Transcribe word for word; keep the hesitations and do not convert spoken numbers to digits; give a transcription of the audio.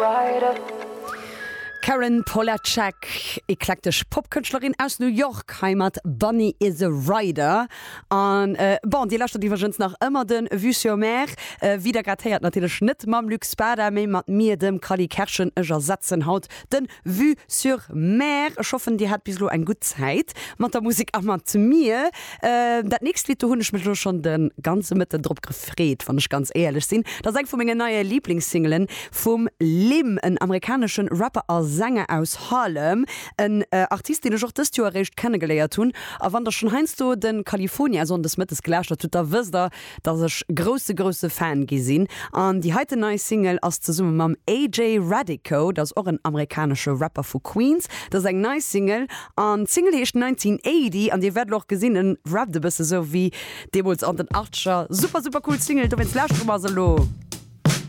rider. Carin Polachek, eklektesch Popkënschtlerin aus New York, hei mat Bunny is a Rider. An äh, bon, dir lauschtert iwwregens nach ëmmer de Vue sur Mer. Äh, wéi der grad héiert natierlech net mam Luc Spada, mee mat mir, dem Cally Kerschen. Ech ersetzen haut de Vue sur Mer. Ech hoffen, dir hat bis elo eng gutt Zäit mat der Musek a mat mir. Äh, dat nächst Lidd, do hunn ech mech elo schonn de ganze Mëtten drop gefreet, wann ech ganz éierlech sinn. Dat ass eng vu mengen neie Liblingssingelen vum Lim, en amerikanesche Rapper a Sänger aus Harlem, en äh, Artist, deen ech och dëst Joer eréischt kennegeléiert hunn. A wann der schonn heiansdo de California sonndes mëttes gelauschtert hutt, da wësst der, dass ech grousse grousse Fan gi sinn. An déi heiten nei Single ass zesumme mam A J Radico, dat ass och en amerikanesche Rapper vu Queens. Dat ass eng nei Single an d'Single heescht nineteen eighty an dir wäert och gesinn, en rappt e bësse sou wéi deemools an den Achtzeger. Super super cool Single, dowéinst lauschtere mer se elo.